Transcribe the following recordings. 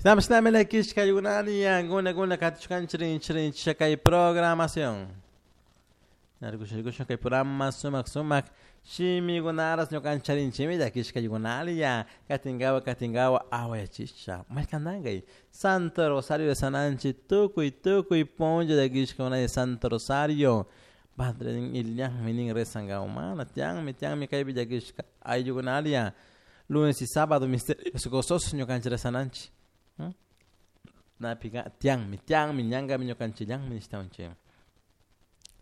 Shinami llakishka guna guna katishkanchik rinchik kay programación. Rikushun kay programa sumak sumak shimikunaras ñukancharinchimi llakishkaykunalla katinkawa katinkawa awayachisha maykantankay Santo Rosario de Sananchi tukuy tukuy punlla llakishkakunalla Santo Rosario. Padre nin illanmi nin rezankawa mana tiyanmi tiyanmi kaypi llakishka ayllukunalla lunes y sábado misterios gozosos ñukanchik rezananchik. Napika tiyanmi tiyanmi ñankami ñukanchillanmi nishtawanchik.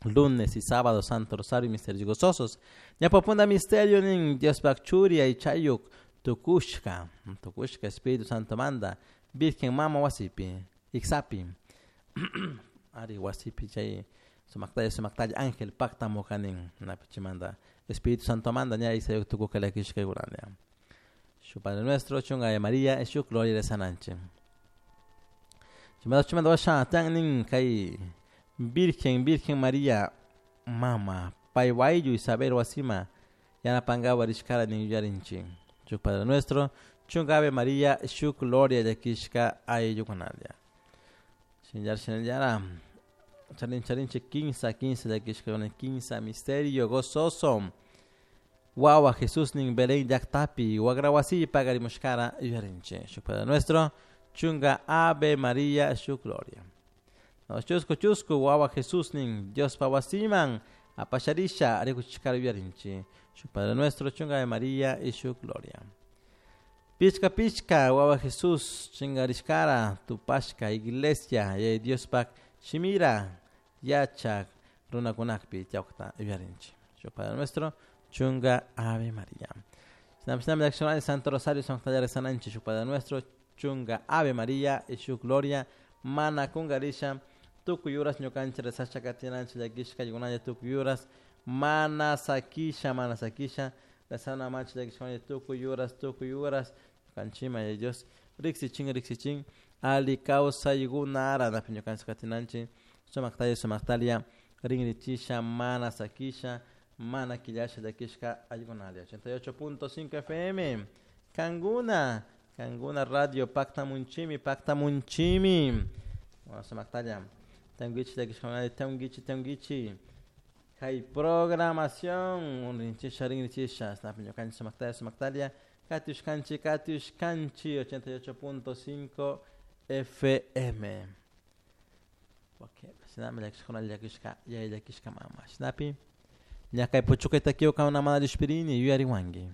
Lunes y sábado Santo Rosario misterios gozosos. Ñawpapunda misterio nin Diospak churi aychayuk tukushka tukushka Espíritu Santo manda Virgen mama wasipi iksapi ari wasipi chay sumaktalla sumaktalla ángel paktamuka nin napi chaymanta Espíritu Santo manda ña iksayuk tukushka llakishkaykunalla. Shuk Padre Nuestro chunka Ave María shuk Gloria rezananchik. Chaymanta chaymanta washa tiyan nin kay Virgen Virgen María mama pay ayllu Isabel wasima yanapankawa rishkara nin yuyarinchik. Shuk Padre Nuestro chunka Ave María shuk Gloria llakishka ayllukunalla. Shinallara shinallara charin charinchik kinsa kinsa llakishkakuna kinsa misterio gozoso. Wawa Jesús nin Belén llaktapi wagra wasipi pagarimushkara yuyarinchik. Shuk Padre Nuestro chunka Ave María shuk Gloria. No, chusku chusku wawa Jesús nin Diospa wasiman apasharisha rikuchishkara yuyarinchik. Shuk Padre Nuestro chunka Ave María y shuk Gloria. Pichka pichka wawa Jesús chingarishkara tupashka iglesia yaya Diospak shimira yachak runakunakpi tiyakta yuyarinchik. Shuk Padre Nuestro chunka Ave María. Shinami shinami llakishkuna Santo Rosario sumaktalla rezananchik shuk Padre Nuestro chunka Ave María y shuk Gloria mana kunkarisha tukuy uras ñukanchik rezasha katinanchik llakishka ayllunalla tukuy uras mana sakisha mana sakisha rezana manchik llakishka tukuy uras ñukanchikman Yaya Dios riksichin riksichin alli kawsaykunara napi ñukanchik katinanchik sumaktalla sumaktalla rinrichisha mana sakisha mana quillasha llakishka ayllunalla. 88.5 FM Kankuna Kankuna radio paktamunchimi paktamunchimi sumaktalla tiyankichik llakishkakunalla tiyankichik tiyankichik kay programación rinchisha rinrichisha napi ñukanchik sumaktalla sumaktalla katushkanchik katushkanchik 88.5 FM. Okay, shinami llakishkakunalla llakishka yaya llakishka mama shinapi ña kay puchukay takiwan mana llushpirini yuyariwanki.